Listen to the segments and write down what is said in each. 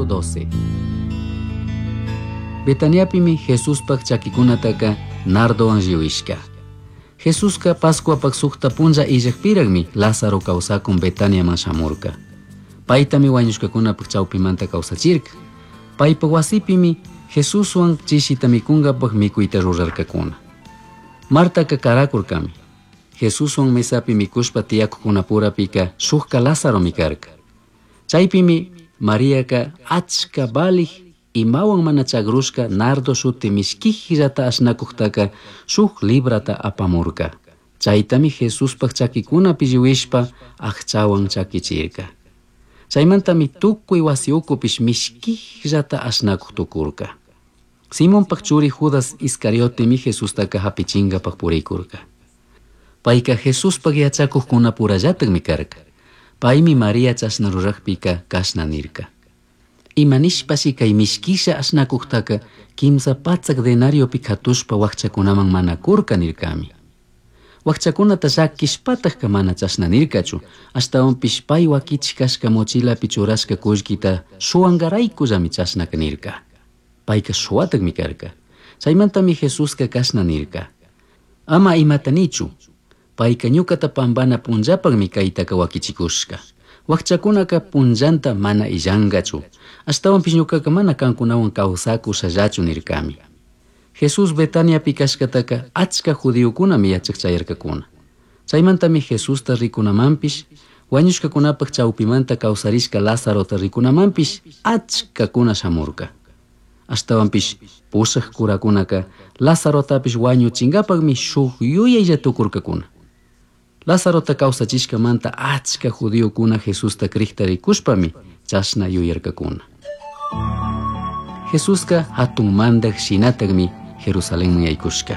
Capítulo 12. Betaniapimi Jesuspaj chakikunataka nardowan lliwishka. Jesuska Pascuapak sukta punlla illakpiraqmi Lázaro kawsakun Betaniaman shamurka. Paytami wañushkakunapaj chawpimanta kawsachirka. Paypa wasipimi Jesuswan chishita mikunkapak mikuyta rurarkakuna. Martaka karakurkami. Jesuswan mesapi mikushpa tiyakuqkunapurapika shukka Lázaromi karka. Chaypimi Mariaka achka valij imawan mana chagrushka nardo shuti mishkijllata ashnakuqtaka shuk librata apamurka. Chaytami Jesuspaj chakikunapi lliwishpa aqchawan chakichirka. Chaymantami tukuy wasi ukupish mishkijllata ashnakuq tukurka. Simonpaj churi Judas Iscariotemi Jesustaka hapichinkapaq purikurka. Payka Jesuspaj yachakuqkunapurallatakmi karka. Paymi María chashna ruraqpika kashna nirka. Ima nishpashi kay mishkisha ashnakuqtaka 300 denariopi katushpa wakchakunaman mana kurka nirkami. Wakchakunata llakishpatakka mana chashna nirkachu, ashtawanpish pay wakichik kashka mochilapi churashka kullkita shuwankaraykullami chashnaka nirka. Payka shuwatakmi karka. Chaymantami Jesuska kashna nirka. Ama imata nichu, payka ñukata pampana punllapakmi kaytaka wakichikushka. Wakchakunaka punllanta mana illankachu, ashtawanpish ñukaka mana kankunawan kawsakushallachu nirkami. Jesús Betaniapi kashkataka achka judiokunami yachak chayarkakuna. Chaymantami Jesusta rikunamanpish, wañushkakunapaj chawpimanta kawsarishka Lázarota rikunamanpish achkakuna shamurka. Ashtawanpish pusaq kurakunaka Lázarotapish wañuchinkapakmi shuk yuyaylla tukurkakuna. Lázarota kawsachishkamanta achka judiokuna Jesusta krikta rikushpami chashna yuyarkakuna. Jesuska hatun mandaq shinatakmi Jerusalenman yaykushka.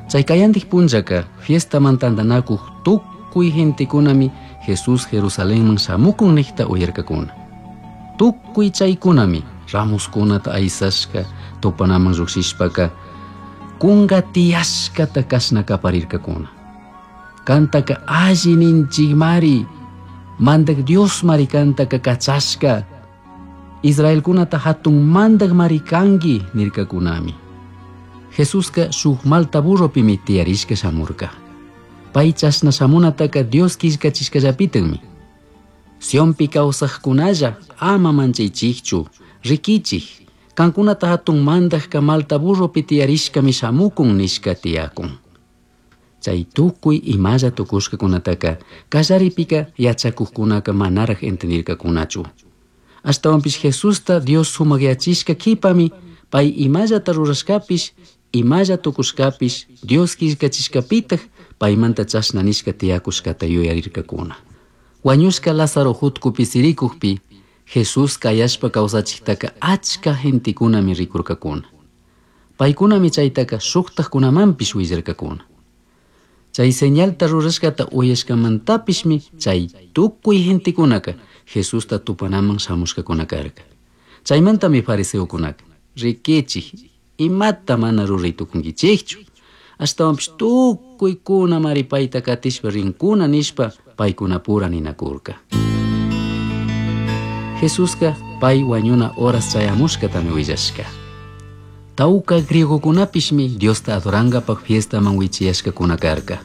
Chay kayantik punllaka fiestaman tantanakuq tukuy gentekunami Jesús Jerusalenman shamukun niqta uyarkakuna. Tukuy chaykunami ramuskunata aysashka tupanaman lluqshishpaka kunka tiyashkata kashna kaparirkakuna. Kantaka alli ninchikmari, mandak Diosmari kantaka kachashka, Israelkunata hatun mandakmari kanki nirkakunami. Jesuska shuk malta burropimi tiyarishka shamurka. Pay chashna shamunataka Dios killkachishkallapitakmi. Sionpi kawsaqkunalla ama manchaychikchu, rikichik, kankunata hatun mandakka malta burropi tiyarishkami shamukun nishka tiyakun. Chay tukuy imalla tukushkakunataka kallaripika yachakuqkunaka manaraq entendirkakunachu. Ashtawanpish Jesusta Dios sumakyachishka kipami pay imallata rurashkapish imalla tukushkapish Dios killkachishkapitak paymanta chashna nishka tiyakushkata yuyarirkakuna. Wañushka Lázaro hutkupi sirikukpi Jesús kayashpa kawsachiktaka achka gentekunami rikurkakuna. Paykunami chaytaka shuktakkunamanpish willarkakuna. Chay señalta rurashkata uyashkamantapishmi chay tukuy gentekunaka Jesusta tupanaman shamushkakuna karka. Chaymantami fariseokunaka rikichik imata mana ruray tukunkichikchu. Ashtawanpish tukuykuna payta katishpa rinkuna nishpa paykunapura ninakurka. Jesuska pay wañuna horas chayamushkatami willashka. Tawka griegokunapishmi Diosta adorankapak fiestaman wichiyashkakuna karka.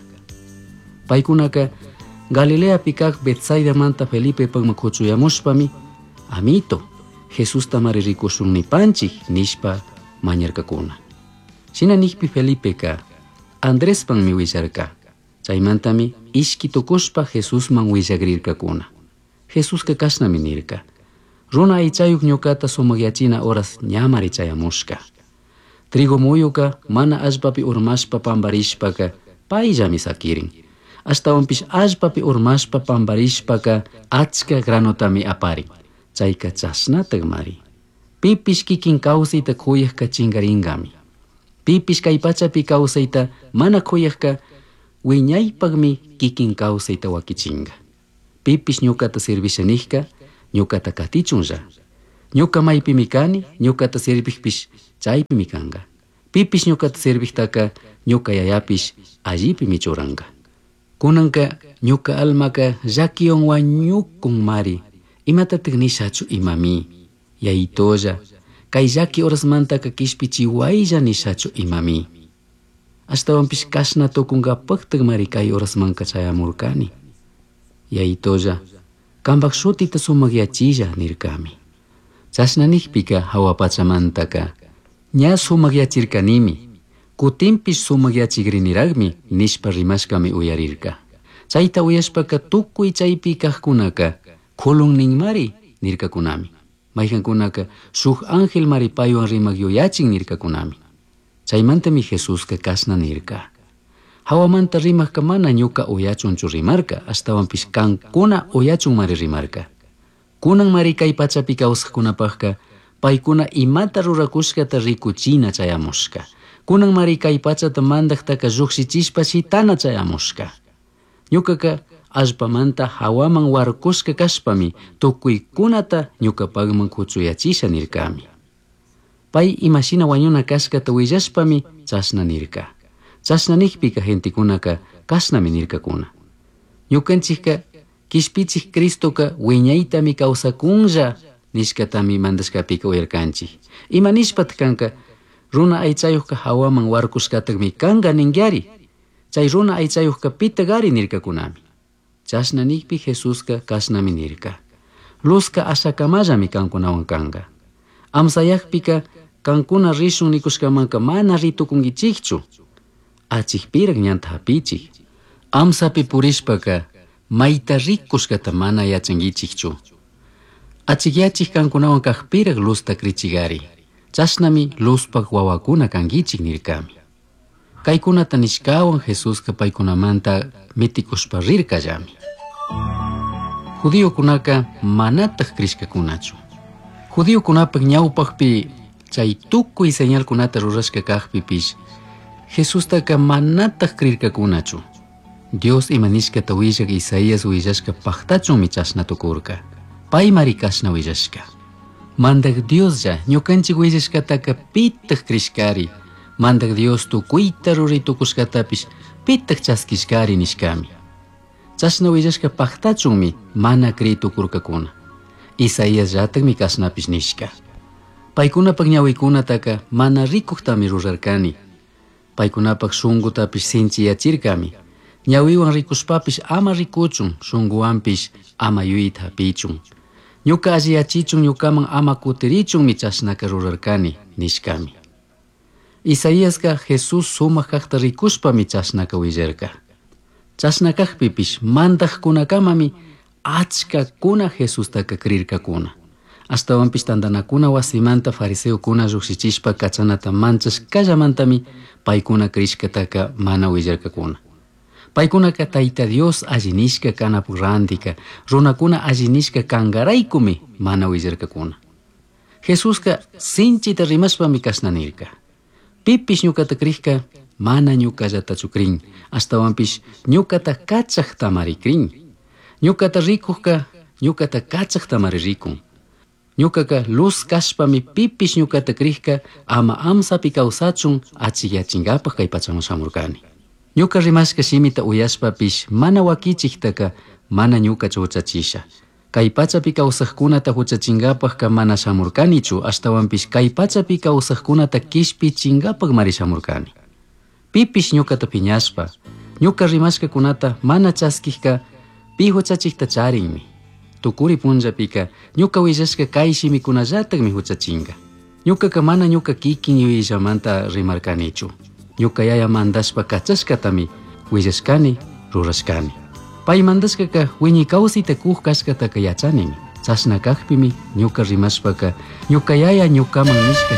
Paykunaka Galileapi kaq Betsaidamanta Felipepakman kuchuyamushpami amito Jesusta mari rikushun nipanchik nishpa mañarkakuna. Shina nikpi Felipeka Andrespanmi willarka. Chaymantami ishki tukushpa Jesusman willakrirkakuna. Jesuska kashnami nirka. Runa aychayuq ñukata sumakyachina horas ñamari chayamushka. Trigo muyuka mana allpapi urmashpa pamparishpaka payllami sakirin. Ashtawanpish allpapi urmashpa pamparishpaka achka granotami aparin. Chayka chashnatakmari. Pipish kikin kawsayta kuyaqka chinkarinkami. Pipish kay pachapi kawsayta mana kuyaqka wiñaypaqmi kikin kawsayta wakichinka. Pipish ñukata servisha niqka ñukata katichunlla. Ñuka maypimi kani, ñukata serviqpish chaypimi kanka. Pipish ñukata serviqtaka ñuka yayapish allipimi churanka. Kunanka ñuka almaka llakiwan wañukun mari. Imatatak nishachu imami. Yaitolla, kay llaki horasmantaka kishpichiwaylla nishachu imami. Ashtawanpish kashna tukunkapaktakmari kay horasmanka chayamurkani. Yaitolla, kampak shutita sumakyachilla nirkami. Chashna nijpika jahua pachamantaka ña sumakyachirkanimi, kutinpish sumakyachikrinirajmi nishpa rimashkami uyarirka. Chayta uyashpaka tukuy chaypi kajkunaka kulun ninmari nirkakunami. Mayqankunaka shuk angelmari paywan rimak yuyachin nirkakunami. Chaymantami Jesuska kashna nirka. Hawamanta rimakka mana ñuka uyachunchu rimarka, ashtawanpish kankuna uyachunmari rimarka. Kunanmari kay pachapi kawsaqkunapaqka paykuna imata rurakushkata rikuchina chayamushka. Kunanmari kay pachata mandaqtaka llukshichishpa shitana chayamushka. Ñukaka allpamanta hawaman warkushka kashpami tukuykunata ñukapakman kuchuyachisha nirkami. Pay imashina wañuna kashkata willashpami chashna nirka. Chashna nijpika gentekunaka kashnami nirkakuna. Ñukanchikka kishpichik Cristoka wiñaytami kawsakunlla nishkatami mandashkapika uyarkanchik. Ima nishpataq kanka runa aychayuqka hawaman warkushkatakmi kanka ninkiari. Chay runa aychayuqka pitaq ari nirkakunami. Chashna nijpi Jesuska kashnami nirka. Luzka ashakamallami kankunawan kanka. Amsayaqpika kankuna rishun nikushkamanka mana ritukunkichikchu. Achikpiraq ñanta hapichik. Amsapi purishpaka mayta rikushkata mana yachankichikchu. Achikyachik kankunawan kaqpiraq luzta krichigari. Chashnami luzpak wawakuna kankichik nirkami. Kaykunata nishkawan Jesuska paykunamanta mitikushpa rirkallami. Judiokunaka manataq krishkakunachu. Judiokunapak ñawpaqpi chay tukuy señalkunata rurashka kaqpipish Jesustaka manataq krirkakunachu. Dios ima nishkata willaq Isaías willashka paqtachunmi chashna tukurka. Paymari kashna willashka. Mandaq Dioslla ñukanchik willashkataka pitaq krishkari. Mandaq Dios tukuyta ruray tukushkatapish pitaq chaskishkari nishkami. Chashna willashka paqtachunmi mana kriy tukurkakuna. Isaías llatakmi kashnapish nishka. Paykunapak ñawikunataka mana rikuqtami rurarkani. Paykunapak shunqutapish sinchiyachirkami. Ñawiwan rikushpapish ama rikuchun, shunquwanpish ama yuyayta hapichun. Ñuka alliyachichun ñukaman ama kutirichunmi chashnaka rurarkani nishkami. Isaíaska Jesús sumaq kaqta rikushpami chashnaka willarka. Chashna kaqpipish mandaqkunakamami achkakuna Jesustaka krirkakuna. Ashtawanpish tantanakuna wasimanta fariseokuna llukshichishpa kachanata manchashkallamantami paykuna krishkataka mana willarkakuna. Paykunaka Tayta Dios alli nishka kanapuk rantika, runakuna alli nishka kankaraykumi mana willarkakuna. Jesuska sinchita rimashpami kashna nirka. Pipish ñukata krikka mana ñukallatachu krin, ashtawanpish ñukata kachaqtamari krin. Ñukata rikukka ñukata kachaqtamari rikun. Ñukaka luz kashpami pipish ñukata krikka ama amsapi kawsachun achikyachinkapak kay pachaman shamurkani. Ñuka rimashka shimita uyashpapish mana wakichiktaka mana ñukachu huchachisha. Kay pachapi kawsaqkunata huchachinkapakka mana shamurkanichu, ashtawanpish kay pachapi kawsaqkunata kishpichinkapakmari shamurkani. Pipish ñukata piñashpa, ñuka rimashkakunata mana chaskikka pi huchachikta charinmi. Tukuri punllapika ñuka willashka kay shimikunallatakmi huchachinka. Ñukaka mana ñuka kikin yuyayllamanta rimarkanichu. Ñuka yaya mandashpa kachashkatami willashkani, rurashkani. Pay mandashkaka wiñay kawsayta kuq kashkataka yachanimi. Chashna kaqpimi ñuka rimashpaka ñuka yaya ñukaman nishka